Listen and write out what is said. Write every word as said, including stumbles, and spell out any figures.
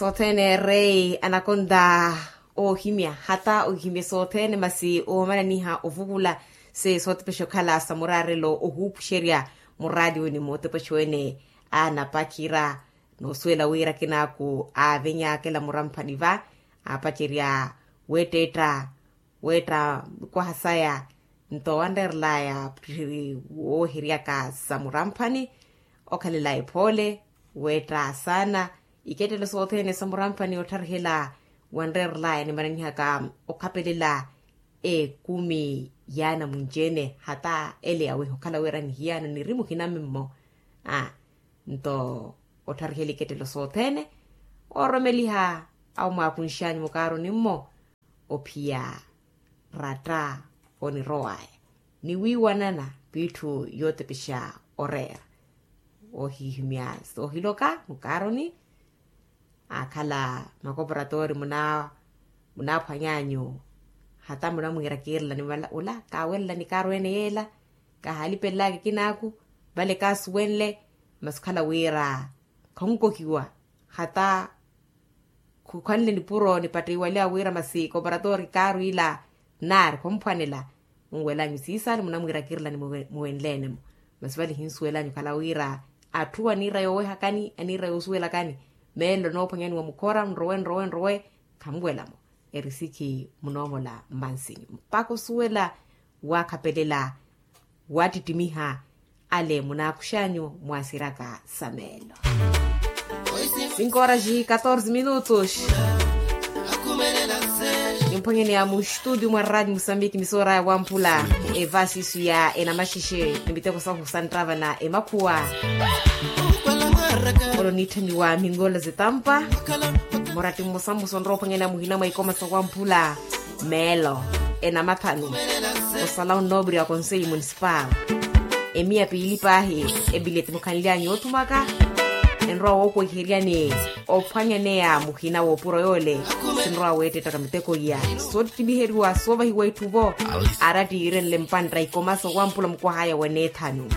Sothene rei anakonta ohimya hata ohimya sothene masi omananiha ovukula se sotepexa okhala sa murarelo ohupuxerya muradioni motepexa wene. Anapakhira nosuwela wira kinaku avenyakela muramphani va apacerya wetetta wetta mikwaha saya. Nto wanrerelaya woheryaka sa muramphani okhalela ephole wetta saana ikettelo sothene sa muramphani ottharihela wanrerelaya nimananihaka okhapelela ekumi yaana munci-ene hata ele yaweha okhala wira nihiyana niri muhinamimmo. Nto ottharihela ikettelo sothene oromeliha awo mwaakunxanyu mukaaroni mmo ophiya ratta onirowaya niwiiwanana viitthu yootepexa oreera. Oohihimya soohiloka mukaaroni aakhala makoporatoori munaaphwanyanyu hata munamwiira kiirelani vala ula kaawerelani kaarweene yeela kahalipelelaka ekinaaku vale kaasuwenle. Masi okhala wira khonkohiwa hata khukhanle nipuro nipattiwaliwa wira masi koparatoori kaarwiila naari khomphwanela. Munwelanyu siisani munamwiira kiirelani muwenle-ene-mo masi vale hinsuwelanyu okhala wira atthu aniira yoowehakani aniira yoosuwelakani meelo noophwanyani wa mukhora nrowe nrowe nrowe khamuwela-mo. Erisikhi munoomola mmansinyu mpakha osuwela waakhapelela waattittimiha ale munaakuxanyu mwaasiraka sa meelo. Sinkoora xi katorze minutos nimphwanyeni ya muxtutio mwa radi musambiki misoora ya wamphula evasisu ya enamaxexe ni miteko sahu santtava na emakhuwa. Olo niitthamiwa mingola zitampa muratti mmosa mmosa onrowa ophwanyana muhina mwa ikoma sa wamphula meelo enamathanu osala onnoopiri wa konseyi munisipal emiya piili paahi ebileti mukhanly'anyu yoothumaka enrowa wookoiheryani ophwanyaneya muhina woopuro yoole sinrowa weettettaka miteko iya soottittimiheriwa soovahiwa itthu vo arattiirenle mpantta ikoma sa wamphula mukwah'aya wa neethanu.